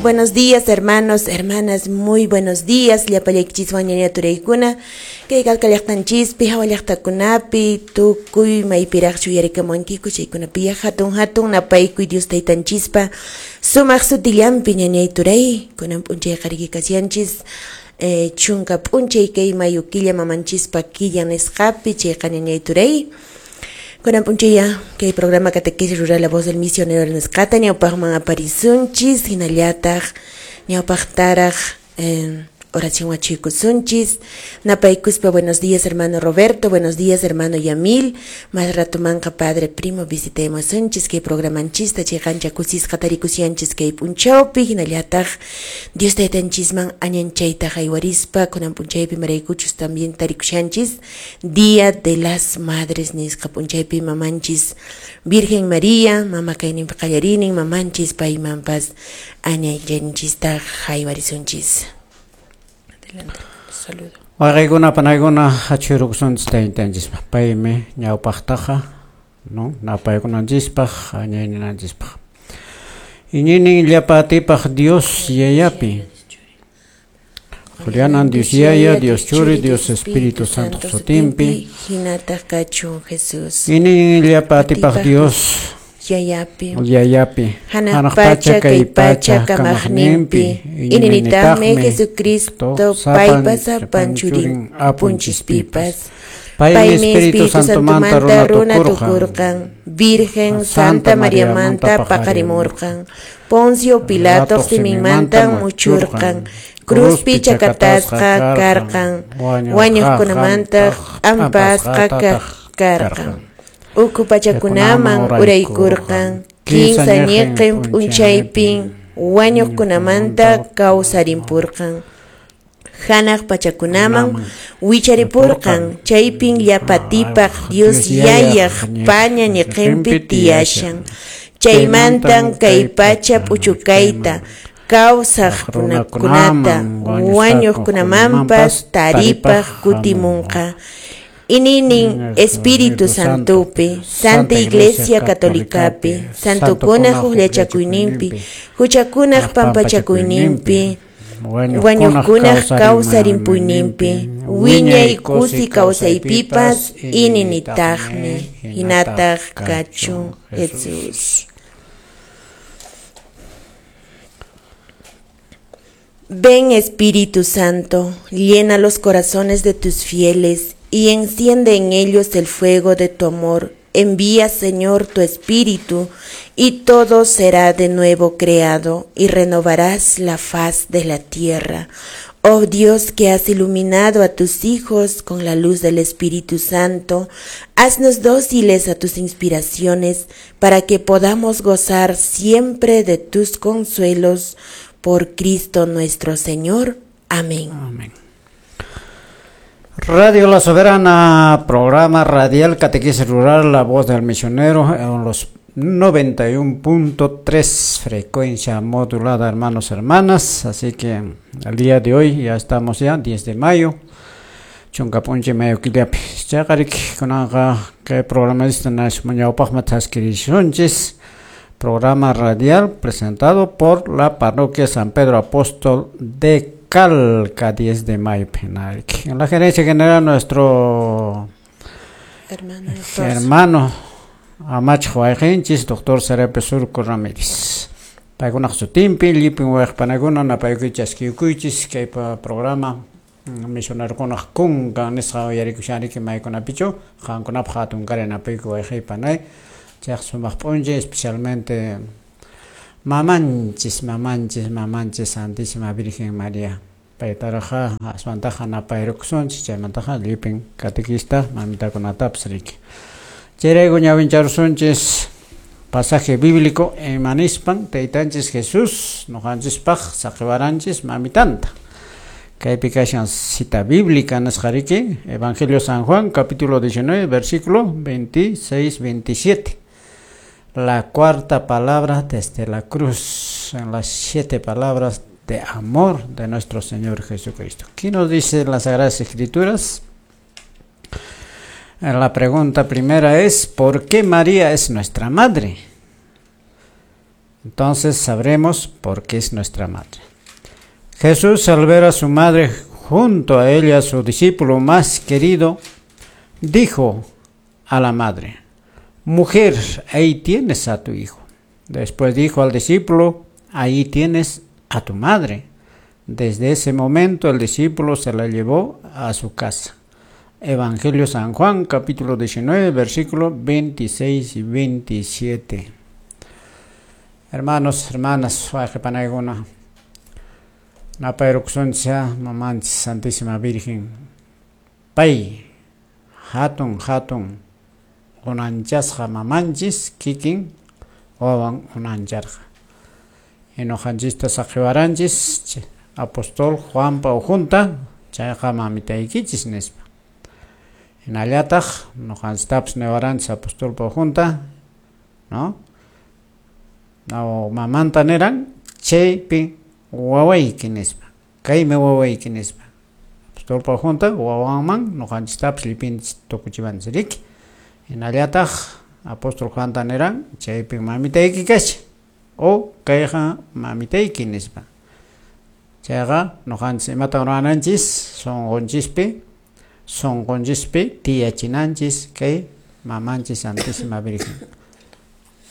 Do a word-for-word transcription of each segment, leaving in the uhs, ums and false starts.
Buenos días, hermanos, hermanas, muy buenos días. Llapallaykichis ñaña turaykuna. Kay Calca llaqtanchispi, hawa llaqtakunapi, tukuy maypiraqchu yarikamunkiku chaykunapi hatun hatun napaykuy Dios taytanchispa sumaq sutillanpi ñañay turay. Kunan p'unchay qariki kashanchis. Eh, chunka p'unchay kay mayu killa mamanchispa killa nisqapi chayqa ñañay turay. Kunan p'unchaya kay programa Catequesis Rural La Voz del Misionero nisqata ñawpaqman aparisunchis hinallataq ñawpaqtaraq eh, oración wachuykusunchis. Napaykuspa buenos días hermano Roberto, buenos días hermano Yamil, más ratumanqa padre primo visitaymusunchis kay programanchista chay ancha kusisqa tarikushanchis kay p'unchawpi hinallataq Dios taytanchisman añanchayta haywarispa kunan p'unchaypi maraykuchus también tarikushanchis Día de las Madres nisqa p'unchaypi mamanchis Virgen María, mama kayninpi qallarinin mamanchis paymanpas añanchanchista haywarisunchis. Adelante, saludo. Waqaykuna panaykuna achhurukusunchis taytanchispa paymi ñawpaqtaqa no napaykunanchispaq añayninanchispaq iñinin llapa atipaq Dios yayapi Julianan Dios yaya, Dios churi, Dios Espíritu Santo sutinpi hinataq kachun Jesús. Iñinin llapa atipaq Dios yayapi yayapi hanaq pacha kay pacha kamaqninpi ininitaqmi Jesucristo paypa sapan churin apunchispipas paymi Espíritu Santomanta runa tukurqan Virgen Santa Mariamanta paqarimurqan Poncio Pilato siminmanta muchurqan cruzpi chakatasqa karqan wañuqkunamanta ampasqa karqan uku pachakunaman uraykurqan kinsa ñiqin p'unchaypin wañuqkunamanta kawsarimpurqan hanaq pachakunaman wicharipurqan chaypin llapatipaq Dios yayaq paña ñiqinpi tiyashan chaymantan kay pacha p'uchukayta kawsaq runakunata wañuqkunamanpas taripaq kutimunqa. Ininin Espíritu Santopi, Santa Iglesia Católicapi, Santokunaq huqllachakuyninpi, huchakunaq pampachakuyninpi, wañuqkunaq kawsarimpuyninpi, wiñay kusi kawsaypipas ininitaqmi, hinataq kachun Jesús. Ven Espíritu Santo, llena los corazones de tus fieles y enciende en ellos el fuego de tu amor. Envía, Señor, tu Espíritu, y todo será de nuevo creado, y renovarás la faz de la tierra. Oh Dios, que has iluminado a tus hijos con la luz del Espíritu Santo, haznos dóciles a tus inspiraciones, para que podamos gozar siempre de tus consuelos. Por Cristo nuestro Señor. Amén. Amén. Radio La Soberana, programa radial Catequesis Rural, La Voz del Misionero, en los noventa y uno punto tres frecuencia modulada, hermanos, hermanas. Así que el día de hoy ya estamos ya, diez de mayo, chunka p'unchay mayo killapi. Chaqarik kunanqa kay programista ñawpaqman thaskirisunchis, programa radial presentado por la parroquia San Pedro Apóstol de Calca, diez de mayo. En la gerencia general, nuestro hermano, hermano Amach Huayqinchis, doctor Serape Surco Ramírez. Paykunaq sutinpi, llipin wayqpanakuna napaykuy chaskiyukuychis kay programa misionerokunaq kunkan nisqa uyarikushanriki maykunapichu qankunapaq hatun kari napaykuy wayqaypanay chayqa sumaq p'unchay, especialmente mamanchis, mamanchis, mamanchis Santísima Virgen María. Paytaraqa aswantaqa napayrukusunchis, chaymantaqa llipin catequista mamitakunatapas riki. Chayrayku ñawincharusunchis pasaje bíblico imanispan taytanchis Jesús nuqanchispaq saqiwaranchis mamitanta. Kaypi kashan cita bíblica nisqariki, Evangelio San Juan, capítulo diecinueve, versículo veintiséis, veintisiete. La cuarta palabra desde la cruz, en las siete palabras de amor de nuestro Señor Jesucristo. ¿Qué nos dice las Sagradas Escrituras? La pregunta primera es, ¿por qué María es nuestra madre? Entonces sabremos por qué es nuestra madre. Jesús, al ver a su madre junto a ella, su discípulo más querido, dijo a la madre: Mujer, ahí tienes a tu hijo. Después dijo al discípulo: Ahí tienes a tu madre. Desde ese momento el discípulo se la llevó a su casa. Evangelio San Juan, capítulo diecinueve, versículo veintiséis y veintisiete. Hermanos, hermanas, wayqipanaykuna, napayrukusunchis mamanchis Santísima Virgen, pay hatun hatun unanchasqa mamanchis kikin wawan unancharqa. Ñuqanchista saqiwaranchis apóstol Juanpa ujunta chayqa mamitaykichis nispa. Hinallataq ñuqanchistapas niwaranchis apostolpa ujunta, ¿no? No, mamanta niran chaypi wawayki nispa, kaymi wawayki nispa. Apostolpa ujunta wawanman ñuqanchistapas llipinchis tukuchiwanchis riki. Hinallataq apóstol Juanta niran chaypi mamitayki kashan o kayqa mamitayki nispa. Chayqa ñuqanchis imatan ruwananchis sunqunchispi sunqunchispi tiyachinanchis kay mamanchis Santísima Virgen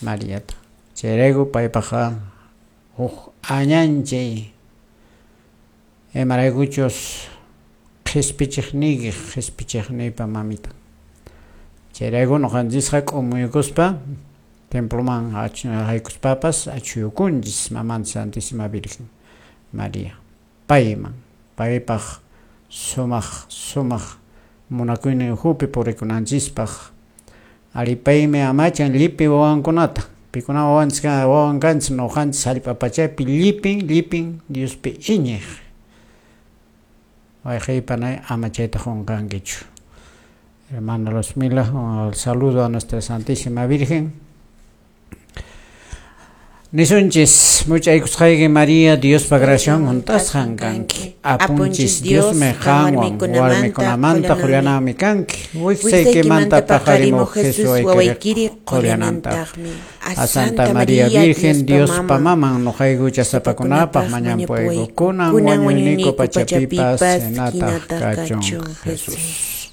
Mariata. Chayrayku paypaqqa huk añanchay imaraykuchus qhispichiqniyki qhispichiqniypa mamita. Chayrayku ñuqanchisqa k'umuykuspa temploman haykuspapas achuyukunchis mamanchis Santísima Virgen María. Payman, paypaq sumaq sumaq munakuynin ukhupi purikunanchispaq. Ari paymi amachan llipi wawankunata. Pikuna wawanchis wawan kanchis ñuqanchis hallp'a pachapi llipin llipin Diospi iñiq. Wayqiypanay ama chayta qunqankichu. Hermano Luzmila, un saludo a nuestra Santísima Virgen. Nisunchis, muchaykusqayki María, Diospa graciawan hunt'asqan kanki. Apunchis Diosmi qanwan warmikunamanta qullananmi kanki. Wiksaykimanta paqarimuq Jesús wawaykiri qullanantaqmi. A Santa María Virgen, Diospa maman, ñuqayku huchasapakunapaq mañanpuyku. Kunan wañuyniku pachapipas hinataq kachun Jesús.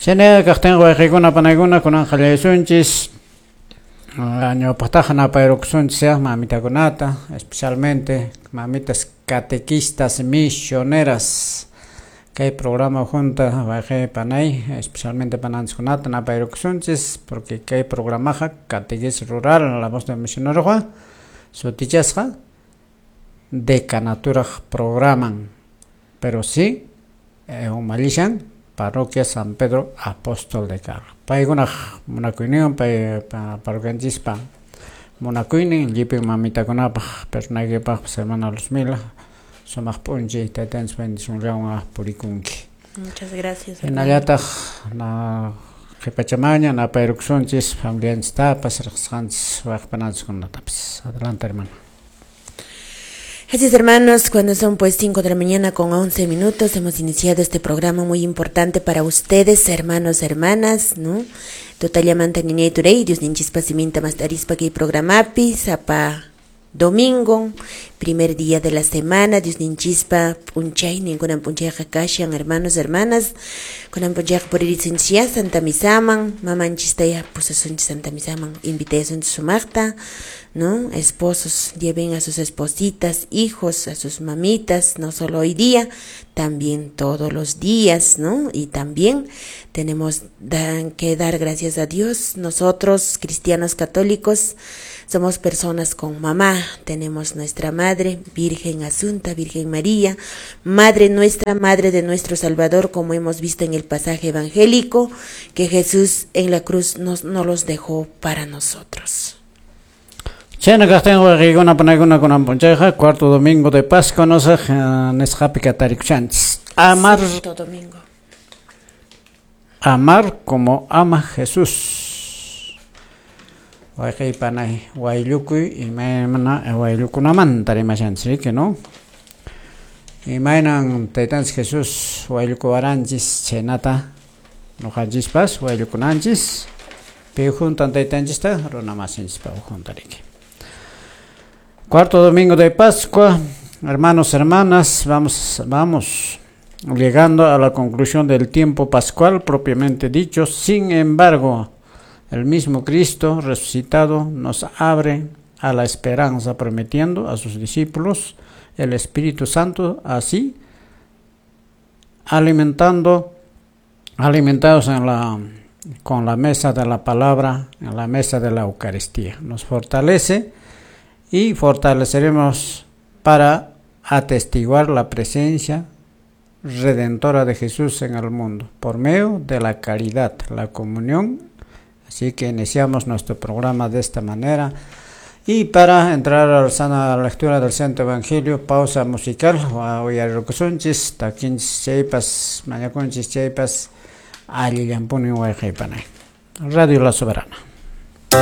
Chaynaqa kaqtinqa wayqiykuna panaykuna kunan qallaysunchis. Ñawpaqtaqa napayrukusunchis mamitakunata, especialmente mamitas catequistas misioneras. Kay programa junta wayqi panay, especialmente pananchiskunata napayrukusunchis, porque kay programaqa catequesis rural, la voz del misionero sutichasqa decanaturaq programan, pero sí eh, umallishan parroquia San Pedro Apóstol de Carlos. Paykunaq munakuyninwan pay parroquianchispa munakuynin llipin mamitakunapaq pernaykipaqpas hermana Luzmila sumaq p'unchay taytanchis bendicionllawan purikunki. Muchas gracias. Hinallataq na qhipachamaña napayrukusunchis familianchistapas riqsisqanchis wayqipananchiskunatapas. Adelante, hermana. Así es, hermanos, cuando son pues cinco de la mañana con once minutos, hemos iniciado este programa muy importante para ustedes, hermanos, hermanas, ¿no? Totallamanta ñañay turay, Dios ninchispa siminta mastarispa kay programapi, sapa domingo, primer día de la semana, Dios ninchispa p'unchay, ninkunan p'unchayqa kashan, hermanos, hermanas, kunan p'unchayqa puririsunchis Santa Misaman, mamanchistaya pusasunchis Santa Misaman, invitasunchis sumaqta, ¿no? Esposos lleven a sus espositas, hijos, a sus mamitas, no solo hoy día, también todos los días, ¿no? Y también tenemos que dar gracias a Dios. Nosotros, cristianos católicos, somos personas con mamá, tenemos nuestra madre, Virgen Asunta, Virgen María, Madre nuestra, Madre de nuestro Salvador, como hemos visto en el pasaje evangélico, que Jesús en la cruz nos, no los dejó para nosotros. Chayna kaqtin wayqiykuna panaykuna kunan p'unchayqa cuarto domingo de Pascua nosaq nisqapi katarikushanchis. Amar, Sexto domingo. Amar como ama Jesús. Wayqiypanay wayllukuy imaymana wayllukunamanta rimashanchis riki, ¿no? Imaynan taytanchis Jesús wayllukuwaranchis chaynata ñuqanchispas wayllukunanchis pi juntan taytanchista runa masinchispa ujunta riki. Cuarto domingo de Pascua, hermanos, hermanas, vamos, vamos llegando a la conclusión del tiempo pascual propiamente dicho. Sin embargo, el mismo Cristo resucitado nos abre a la esperanza, prometiendo a sus discípulos el Espíritu Santo, así alimentando, alimentados en la, con la mesa de la palabra, en la mesa de la Eucaristía. Nos fortalece y fortaleceremos para atestiguar la presencia redentora de Jesús en el mundo, por medio de la caridad, la comunión. Así que iniciamos nuestro programa de esta manera. Y para entrar a la lectura del Santo Evangelio, pausa musical, uyarirukusunchis, takinchis chaypas, mañakunchis chaypas, allillanpuni wayqaypanay. Radio La Soberana.